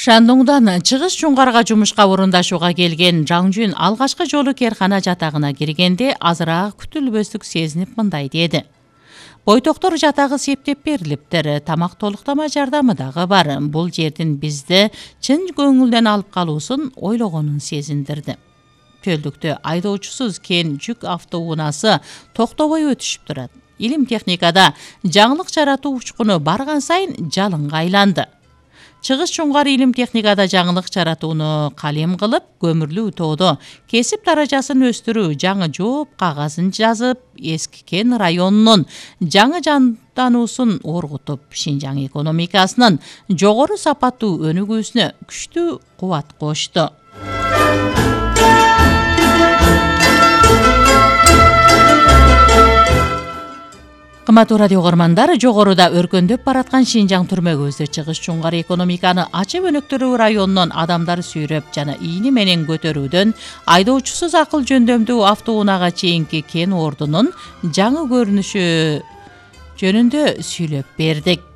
Шандоңдон Чыгыш Чуңгарга жумушка орундашууга келген Жаңжүн алгачкы жолу керкана жатагына киргенде азыраак күтүлбөстүк сезинип мындай деди. Бойтоктор жатагы септеп берилиптир, тамак толуктама жардамы дагы бар. Бул жердин бизди чын көңүлдөн алып калуусун ойлогонун сезиндирди. Чөлдүктө айдоочусуз кен жүк автоунаасы токтобой өтүшүп турат. Илим техникада жаңылык жаратуу учкуну барган сайын жалынга айланды. Чыгыш Чуңгар илим техникада жаңылык жаратууну калем кылып, көмүрлүү тоодо кесип даражасын өстүрүү, жаңы жооп кагазын жазып, эски кен районунун жаңы жандануусун оргутуп, Шинжаң экономикасынын жогору сапаттуу өнүгүүсүнө күчтүү кубат кошту. Кымбаттуу радио угармандар, жогоруда өркөндөп бараткан Шинжаң түрмөгүбүздө Чыгыш Чуңгар экономиканы ачып өнүктүрүү районунун адамдар сүйрөп жана ийни менен көтөрүүдөн айдоочусуз акыл жөндөмдүү автоунаага чейинки кен ордунун жаңы көрүнүшү жөнүндө сүйлөп бердик.